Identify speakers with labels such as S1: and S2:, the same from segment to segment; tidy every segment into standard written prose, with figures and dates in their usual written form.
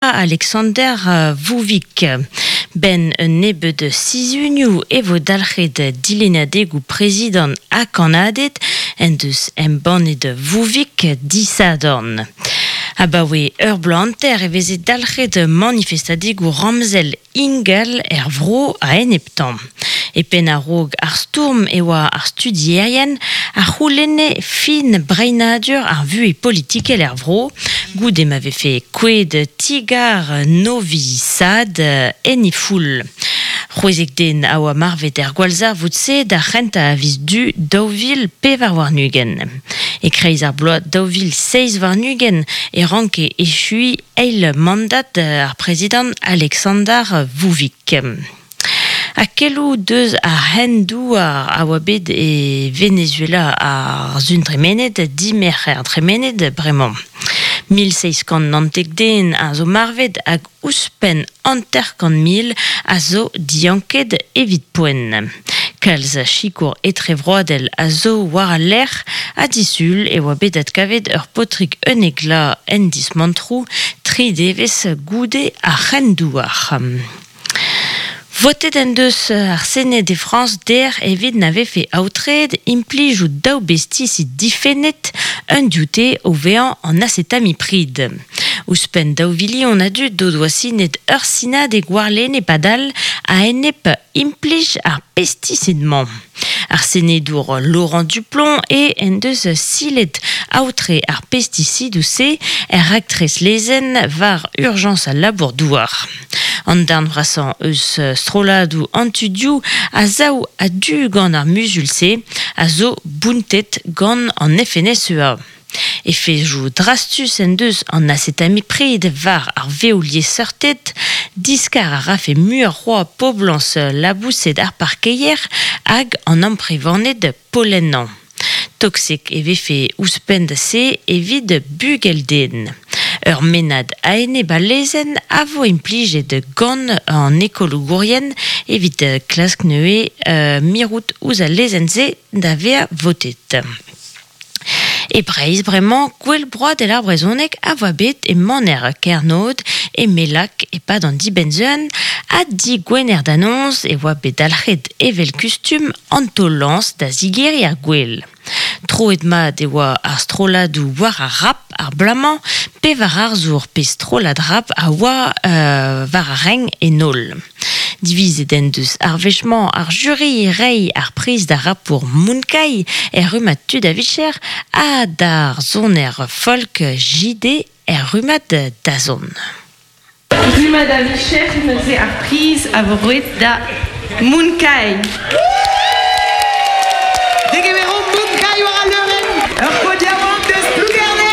S1: Alexander Vouvik. Ben un nebeud sizhunioù e vo dalc'het dilennadegoù prezidant ha kannaded en deus embannet Vouvik disadorn. Abaoe ur bloaz hanter e veze dalc'het manifestadegoù ramzel ingal er vro a-eneptañ. E penn a-raok ar stourm e oa ar studierien a c'houlenne fin breinadur ar vuhez politikel er vro, goude ma vefe kouezhet ti-gar Novi Sad en he foull. 16 den a oa marvet er gwallzarvoud-se d'ar c'hentañ a viz Du 2024. E-kreiz ar bloaz 2027 e ranke echuiñ eil mandad ar prezidant Aleksandar Vučić. Ha keloù deus ar c'hren-douar a oa bet e Venezuela ar sun tremenet, dimerc'her tremenet bremañ. 1719 den a zo marvet hag ouzhpenn 50,000 a zo dianket evit poent. Kalz sikour etrevroadel a zo war al lec'h ha disul e oa bet adkavet ur paotrig unnek vloaz en dismantroù tri devezh goude ar c'hren-douar. Votet en deus ar Sened e Frañs dec'h evit na vefe aotreet implijout daou bestisid difennet, un dioute o vezañ an asetamiprid. Ouzhpenn daou vilion a dud o doa sinet ur sinadeg warlene padal a-enep implij ar pestisid-mañ. Ar senedour Laurent Duplomb eo en deus silet aotre ar pestisidoù-se er raktres lezenn war urjañs al labour-douar. An darn vrasañ eus strolladoù an tudioù a sav a-du gant ar muzul-se a zo bountet gant an FNSEA. Efezoù drastus en deus an asetamiprid war ar vev-liesseurted, diskar a rafe muioc'h c'hoazh poblañs laboused ar parkeier hag an amprevaned pollennañ. Toksek e vefe ouzhpenn da se evit bugel-den. Ur mennad a-enep al lezenn a vo implijet gant an ekologourien evit klask neuze mirout ouzh al lezenn-se da vezañ votet. E Breizh bremañ, Gouel Broadel ar Brezhoneg a voa bet e maner Kernod, e Mellag e-pad an dibenn-sun, ha digwener da noz e oa bet dalc'het evel kustum an taol-lañs da zigeriñ ar gouel. Troet mat e oa ar strolladoù war ar rap ar bloaz-mañ, pevar arzour pe strollad rap a oa war ar renk en holl. Divizet en deus ar wech-mañ ar juri reiñ ar priz d'ar rapour Moonkai er rummad tud a vicher ha d'ar soner folk JD er rummad dazont.
S2: Rummad a vicher neuze ar priz a vo roet da Moonkai.
S3: Degemeromp Moonkai war al leurenn, ur paotr yaouank deus Plougerne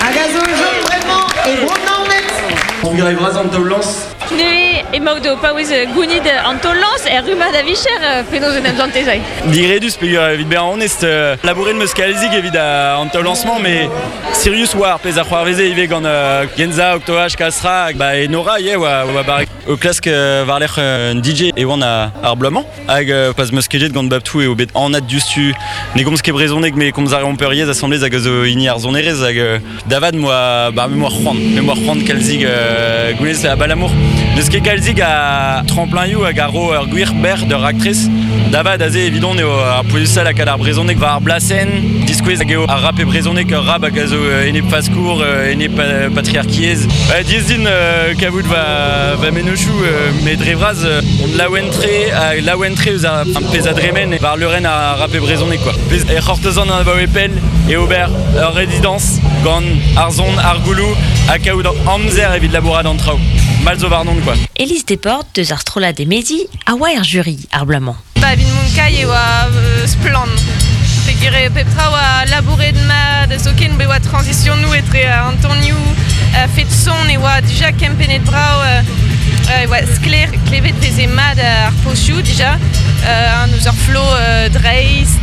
S3: hag a zo o chom bremañ e Bro-Naoned.
S4: Trugarez vras an taol-lañs.
S2: Neuze emaout o paouez gounit an taol-lañs er rummad a vicher, penaos en em santez aze?
S4: Digredus peogwir evit bezañ onest, labouret 'm eus kalzik evit an taol-lañs-mañ met sirius oa ar pezh a c'hoarveze ivez gant Genza, Octoach, Kasra, ba Enora ivez oa, oa barrek. O klask war-lerc'h un DJ e oan ar bloaz-mañ hag pa 'm eus kejet gant Babtou eo bet anat diouzhtu. Ne gomz ket brezhoneg met komz a reomp ur yezh asambles hag a zo hini ar sonerezh hag Da vat 'moa ba me 'moa c'hoant, me 'moa c'hoant kalzik gouez abalamour n'eus ket kalzik a tremplin-ioù hag a ro ur gwir bec'h d'ur raktres. Da vat aze evidon eo ar pouezusañ lakaat ar brezhoneg war ar blasenn, diskouez hag eo ar rap e brezhoneg ur rap hag a zo enep faskour, enep patriarkiezh. Diaes din kavout va, va mennozhioù met dre vras on laouen-tre ha laouen-tre eus ar pezh a dremen war leurenn ar rap e brezhoneg quoi. Pezh e c'hortozan abaoe pell eo ober ur rezidañs gant ar son, ar gouloù ha kaout amzer evit labourat an traoù. Mall zo warnon quoi.
S1: Élise Desportes deus ar strollad Emezi a oa er juri ar bloaz-mañ.
S2: Ba evit Montcaille e oa splann. Peogwir pep tra oa labouret mat, zoken be oa transitionoù etre an tonioù, fet son e oa dija kempennet brav, e oa sklaer, klevet veze mat ar pozioù dija, an eus ur flo dreist.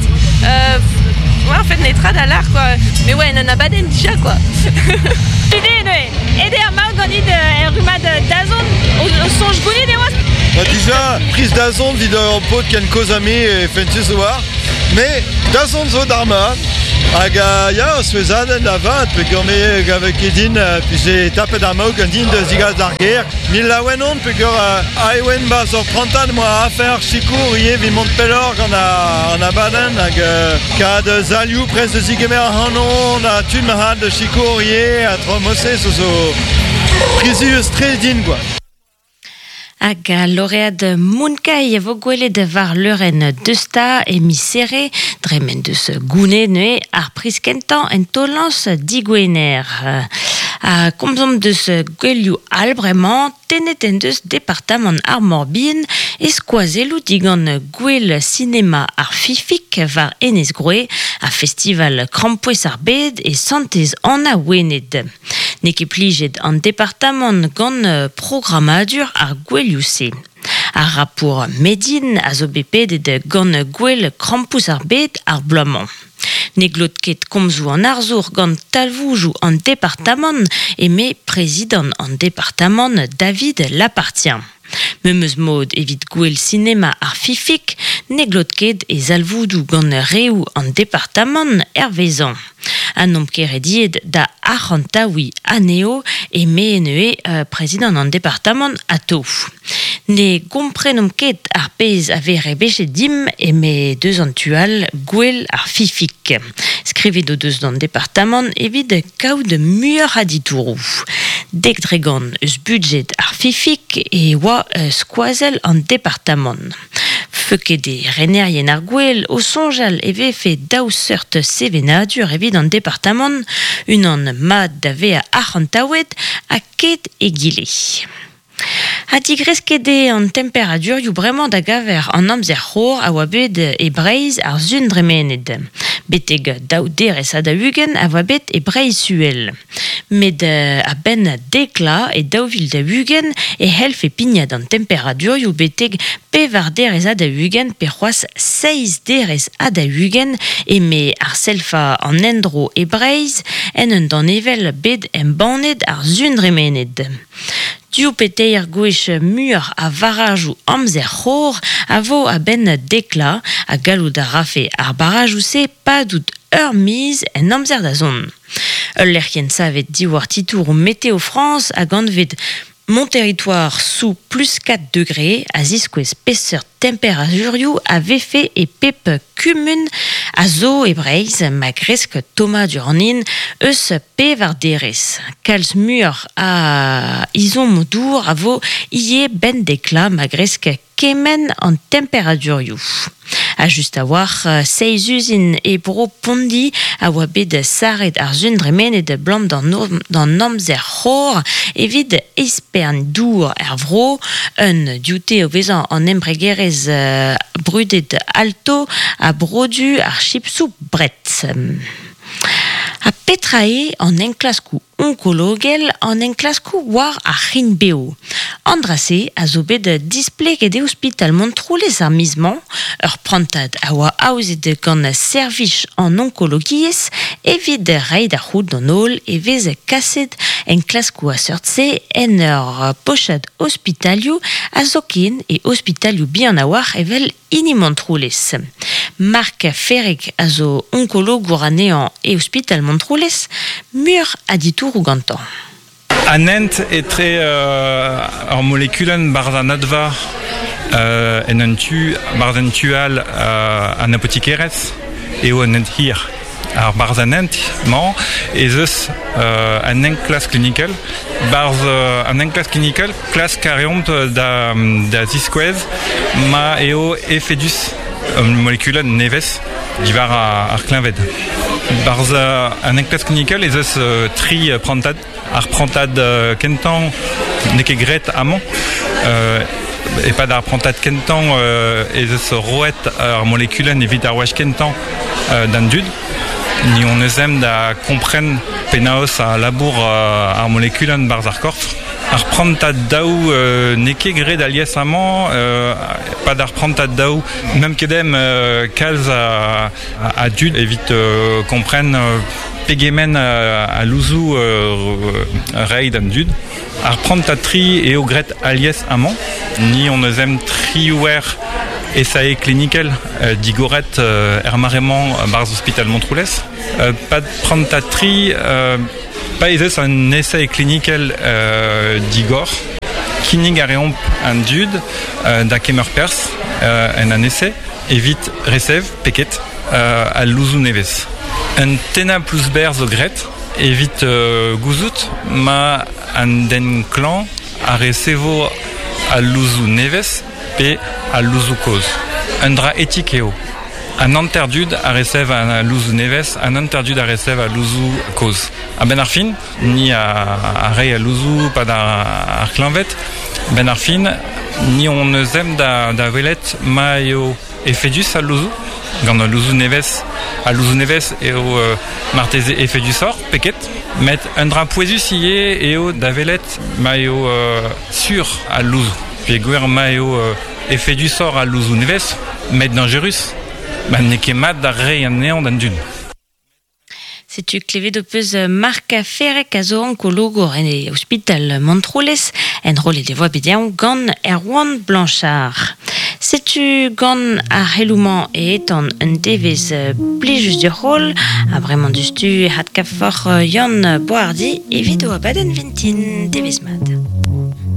S2: Ouais, en fait, netra da lar, quoi. Mais ouais, en un abadenn dija, quoi. Ede, neuze, ede ar maout ganit er rummad dazont, o soñj gounit e oas?
S5: Bah dija, priz dazont evit ur paotr ken kozh ha me e fentus oar. Mais dazont zo d'ar mat. Hag ya, ur souezhadenn da vat, peogwir me gave ket din vije tapet ar maout gant din da zigas d'ar gêr. Mil laouen on peogwir aet oan 'barzh ur prantad 'moa afer sikour ivez evit mont pelloc'h gant an abadenn hag kad salioù prest da zigemer ac'hanon ha tud ma da sikour ivez ha traoù mod-se zo zo prizius-tre din quoi.
S1: Hag al loread Mounkai a vo gwelet war leurenn Deusta e miz Here, dre m'en deus gounezet neuze ar priz kentañ en taol-lañs digwener. Ha komzomp deus gouelioù all bremañ, tennet en deus departamant ar Mor-Bihan e skoazelloù digant Gouel sinema ar Fifik war Enez Groe ha festival krampouezh ar bed e Santez-Anna Wened. N'eo ket plijet an departamant gant programmadur ar gouelioù-se. Ar rapour Medine a zo bet pedet gant Gouel Krampouezh ar Bed ar bloaz-mañ. Ne glot ket komzoù an arzour gant talvoudoù an departamant eme prezidant an departamant David Lappartient. Memes mod evit Gouel sinema ar Fifik, ne glot ket e zalvoudoù gant reoù an departamant hervezañ. Ha n'omp ket rediet da arc'hantaouiñ anezho eme neuze prezidant an departamant atao. Ne gomprenomp ket ar pezh a vez rebechet dimp eme deus an tu all Gouel ar Fifik. Skrivet o deus d'an departamant evit kaout muioc'h a ditouroù. 10% eus budjed ar Fifik e oa skoazell an departamant. Feuket eo renerien ar gouel o soñjal e vefe daou seurt sevenadur evit an departamant, unan mat da vezañ arc'hantaouet ha ket egile. Ha digresket eo an temperadurioù bremañ da gaver an amzer c'hor a oa bet e Breizh ar sun dremenet. Betek daou derez ha 40 a oa bet e Breizh-Uhel. Met a-benn deklañ e 2040 e c'hellfe pignat an temperadurioù betek pevar derez ha 40 pe c'hoazh seizh derez ha 40 eme arsellva an endro e Breizh en un danevell bet embannet ar sun dremenet. Div pe teir gwech muioc'h a varajoù amzer c'hor a vo a-benn deklañ ha gallout a rafe ar barajoù-se padout ur miz en amzer da zont. Ul lec'hienn savet diwar titouroù Météo France hag anvet Mon territoire sous plus 4 degrés a ziskouez peseurt temperadurioù a vefe e pep kumun a zo e Breizh ma kresk tommadur an hin eus pevar derez. Kalz muioc'h a ezhommoù dour a vo ivez 'benn deklañ ma kresk kement an temperadurioù. Ha just a-walc'h, seizh uzin e bro Pondi a oa bet sarret ar sun dremenet 'blam d'an amzer c'hor evit espern dour er vro. Un dioute o vezañ an embregerezh brudet Alto a brodu ar chipsoù Brett. Ha petra eo an enklaskoù onkologel, an enklaskoù war ar c'hrign-bev? An dra-se a zo bet displeget e ospital Montroulez ar miz-mañ. Ur prantad a oa aozet gant servij an onkologiezh evit reiñ da c'hoût d'an holl e vez kaset enklaskoù a seurt-se en ur pochad ospitalioù ha zoken e ospitalioù bihan a-walc'h evel hini Montroulez. Marc Ferreg a zo onkologour anezhañ e ospital Montroulez, muioc'h a ditouroù gantañ.
S6: An hent etre ur molekulenn barzh an adva en un tu, barzh un tu all an apotikerezh eo un hent hir. Ar barzh an hent-mañ ez eus un enklask klinikel. Barzh an enklask klinikel, klask a reomp da, da ziskouez ma eo efedus un molekulenn nevez diwar ar kleñved. Barzh an enklask klinikel ez eus tri prantad. Ar prantad kentañ n'eo ket graet amañ. E-pad ar prantad kentañ ez eus roet ar molekulenn evit ar wech kentañ d'an dud. Ni hon eus ezhomm da kompren penaos a labour ar molekulenn 'barzh ar korf. Ar prantad daou n'eo ket graet alies amañ. E-pad ar prantad daou n'eump ket ezhomm kalz a dud evit kompren pegement a louzoù reiñ d'an dud. Ar prantad tri eo graet alies amañ. Ni hon eus ezhomm triwec'h esae klinikel digoret er maremañ barzh ospital Montroulez. Pad prantad tri pa ez eus un esae klinikel digor. Kinnig a reomp an dud da kemer perzh en an ese evit resev peket al louzoù nevez. Un tennañ plouz-berr zo graet evit gouzout ma an den klañv a resevo al louzoù nevez pe al louzoù kozh. Un dra etik eo. An hanter dud a resev al louzoù nevez, an hanter dud a resev al louzoù kozh. A-benn ar fin, ni a rei al louzoù pad ar kleñved. Benn ar fin, ni hon eus ezhomm da welet ma eo efedus al louzoù. Gant al louzoù nevez, al louzoù nevez eo marteze efedusoc'h pe ket. Met un dra pouezus ivez eo da welet ma eo sur al louzoù. Peogwir ma eo efedusoc'h al louzoù nevez, met dañjerus, ma n'eo ket mat da reiñ anezhañ d'an dud.
S1: Setu klevet ho peus Marc Ferrec a zo onkologour en e ospital Montroulez, enrollet e voa bet dezhañ gant Erwan Blanchard. Setu gant ar c'heloù-mañ e etan un devezh plijus diouzh ha bremañ diouzhtu e hadkavoc'h Yann Boishardy evit o abadenn vintin. Devezh mat.